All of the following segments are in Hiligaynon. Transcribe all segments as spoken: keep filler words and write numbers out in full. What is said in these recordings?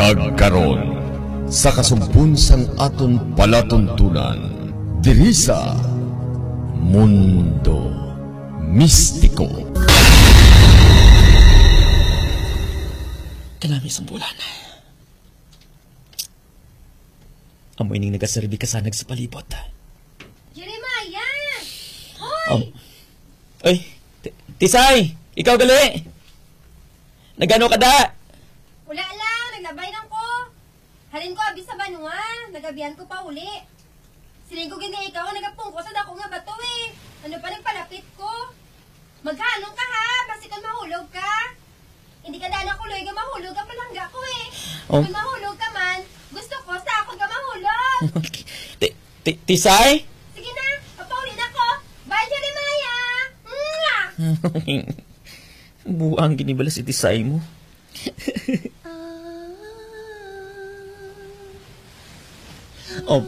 Agkaron, sa kasugpon sang aton palatuntunan, diri sa Mundo Mistiko. Kanami sang bulan. Amo ining nagaserbi kasanag sa palibot. Jeremiah! Hoy! Am-, ay, Ti-, Tisay, ikaw gali? Nagano ka da? Wala lang, naglabay lang ko. Halin ko abi sa banwa, nagabihan ko pa uli. Siling ko gid nga ikaw ang nagapungko sa dako nga bato eh. Ano pa nagpalapit ko? Maghalong ka ha, basi kon mahulog ka. Hindi ka daan ako luoy nga mahulog ang palangga ko eh. Oh. Kung mahulog ka man, gusto ko sa ako ka mahulog. Ti-, ti-, Tisay? Sige na, papauli na ko. Bye, Jeremiah! Mwah! Buang gini bala si Tisay mo. Oh.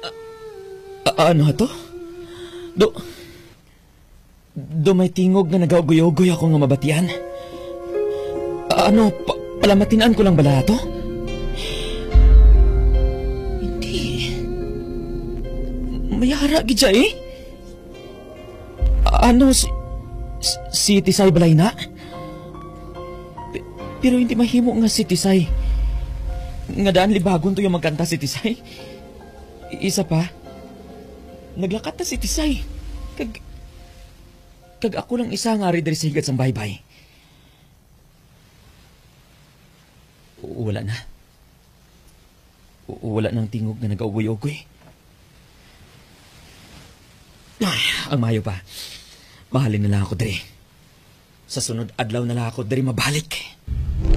A-, a-, ano to? Do, do may tingog nga nagaugoy-ugoy ako nga mabatian. A-, ano, pa-, palamatin-an ko lang bala to? Hindi. May ara gid siya eh. Ano, si, si, si Tisay balay na? Pe-, pero hindi mahimo nga si Tisay. Nga daan libagon to yung magkanta si Tisay. I-, isa pa, naglakat na si Tisay. Kag, kag ako lang isa nga ari diri sa higad sang baybay. Wala na. W-, wala nang tingog nga nagaugoy-ugoy. Ay, ang maayo pa, mahalin na lang ako diri. Sa sunod adlaw na lang ako diri mabalik.